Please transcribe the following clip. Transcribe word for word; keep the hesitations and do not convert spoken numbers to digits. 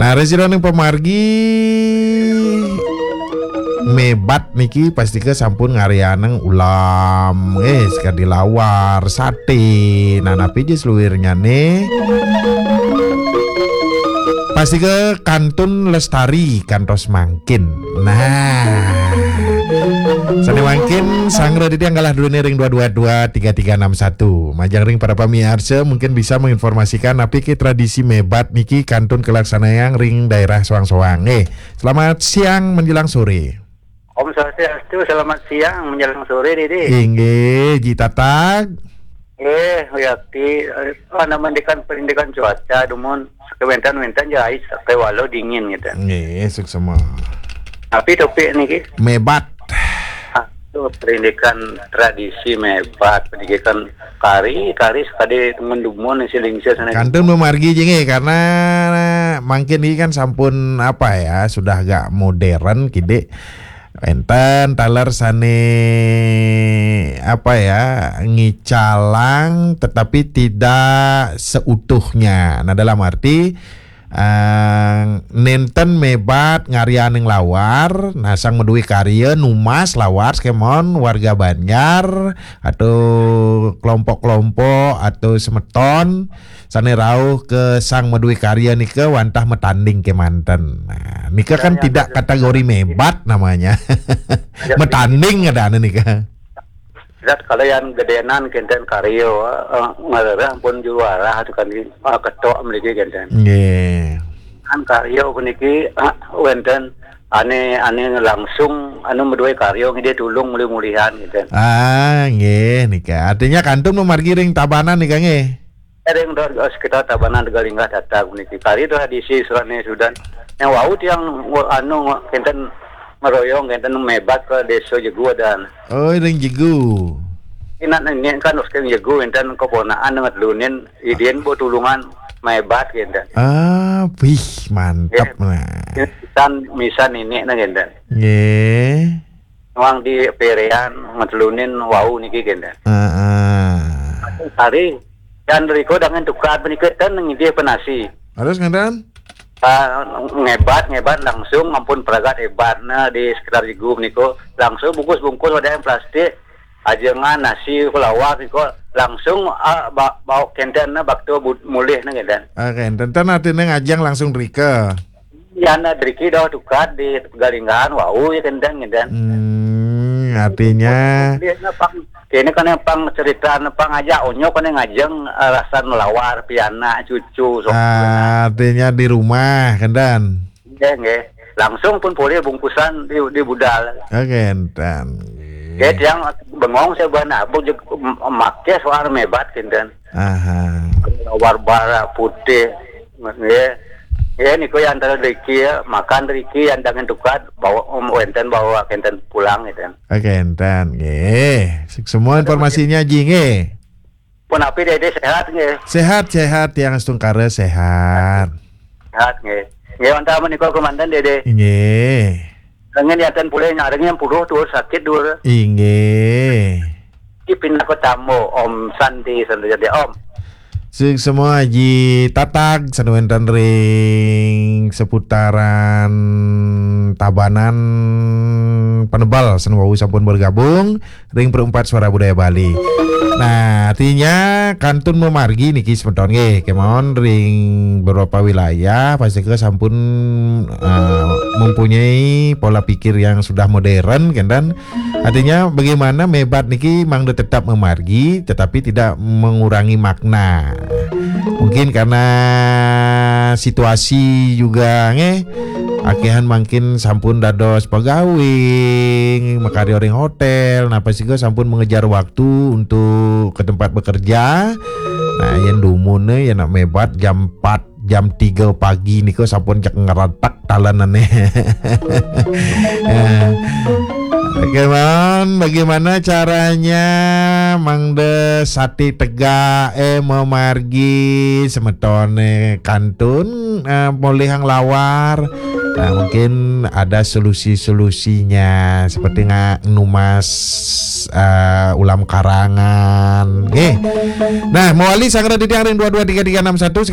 Ari sira ning pamargi mebat niki pastika sampun ngaryanang ulam, eh, sakadi lawar, sate. Nah, napi ja saluirnyane? Pastika kantun lestari kantos mangkin. Nah. Sane mangkin, sanggra titiang galah duene ring dua dua dua tiga tiga enam satu. Majeng ring para pamiarsa mungkin bisa menginformasikan napi ke tradisi mebat niki kantun kalaksanayang ring daerah soang-soang. Eh, selamat siang menjelang sore. Om Swastiastu, selamat siang menjelang sore, Dede. Inggih, Ji Tatag. Eh, Yakti, eh, ana mandikan parindikan cuaca, dumun sakewentan-wentan ja ais, sakewala dingin gitu. Nggih, suksema. Tapi topik niki. Mebat. Aduh, parindikan tradisi mebat, parindikan kari, kari sakadi dumun-dumun silingsa sana. Kantun mamargi ja nggih, karena mangkin niki kan sampun apa ya, sudah agak modern kidik. Enten taler sane apa ya, ngicalang tetapi tidak seutuhnya. Nah, dalam arti, eh, nenten mebat ngaryaning lawar, nah, sang madue karya numas lawar, sakemon warga banjar atau kelompok-kelompok atau semeton sane rauh ke sang madue karya nika wantah matanding kemanten. Nah, nika kan tidak kategori mebat namanya. Matanding ada anu nika. Zat kalau yang gedenan kenten karya, eh, ngarereh pun juara tu kan, eh, ketok mriki kenten. Nggih. Kan karya puniki, eh, wenten ane, ane langsung anu madue karya ngidih tulung mulih-mulihan kenten. Ah, nggih nika. Artinya kantun mamargi ring Tabanan nika nggih. Ring do, sekitar Tabanan Tegalinggah Tatag puniki. Kari tradisi surane sudan. Yang wau tiang, anu, kenten meroyong, kenten mebat ke desa Jegu dan. Oh, ring Jegu. Inak nenek kan terus ke Jegu, enten keponaan dengan telunin, idin bo tulungan mebat kenten. Ah, wih, mantap. Nggih. Nah. Misan, misan ini nah kenten. Nggih. Nuang di perean, ngetelunin wau niki kenten. Heeh. Hari, dan riko dangan tukad menika ten ngidih penasi. Terus ngenten? Ah, ngebat, ngebat langsung ampun pragat hebat. Nah, di sekitar Jegu niko langsung bungkus-bungkus wadah yang plastik, ajengan nasi, lawar niko langsung, ah, ba-, bawa kenten, nah, bakto bud-, mulih, nah, kenten. Ah, kenten. Ten artine ngajeng langsung rika. Yan driki doh tukad di Galinggaan, wau ya kenten, kenten. Hmm, artinya. Dia na pang, kene kene pang cerita na pang aja onyok kene ngajeng, eh, rasan lawar, pianak, cucu, sok. Ah, artinya di rumah, kenten. Nggih, nggih. Langsung pun boleh bungkusan di, di budal. Ah, kenten. Nggih, tiang bengong saya buat nabung jeg, em-, make soal mebat, kenten. Aha. Warna bara putih. Nggih. Nggih, niku yang antara driki ya, makan driki yang dangan tukad, bawa, em, wenten bawa kenten pulang gitu. Oke, enten. Nggih. Semua informasinya, Ji, nggih. Pun api Dede sehat nggih. Sehat, sehat, tiang astungkara sehat. Sehat nggih. Nggih, wantah menika kemanten Dede. Nggih. Dengan yatan pulih nyaring yang puluh tuh sakit dulu. Inggih. Ipin aku tamu, Om Santi, Santi jadi Om. Sing semua Haji Tatag, sanu wenten ring seputaran Tabanan Penebal, sanu wau sampun bergabung ring Perempat Suara Budaya Bali. Nah, artinya kantun mamargi niki semeton nggih, kemawon ring beberapa wilayah pasti ke sampun, eh, mempunyai pola pikir yang sudah modern, kan, dan artinya bagaimana mebat niki mangda tetap memargi tetapi tidak mengurangi makna. Mungkin karena situasi juga nggih, akehan mangkin sampun dados pegawai, makarya ring hotel, nah, pasti sampun mengejar waktu untuk ke tempat bekerja. Nah, yen dumun, yen nak mebat jam empat, jam tiga pagi nika sampun cek ngretek talenane. Ya. Oke, Man, bagaimana caranya mangda sati tegak, eh, mamargi semetone kantun, eh, molihang lawar? Nah, mungkin ada solusi-solusinya, seperti nga-, numas, eh, ulam karangan. Nggih. Nah, mawali sanggra titiang ring dua dua tiga tiga enam satu,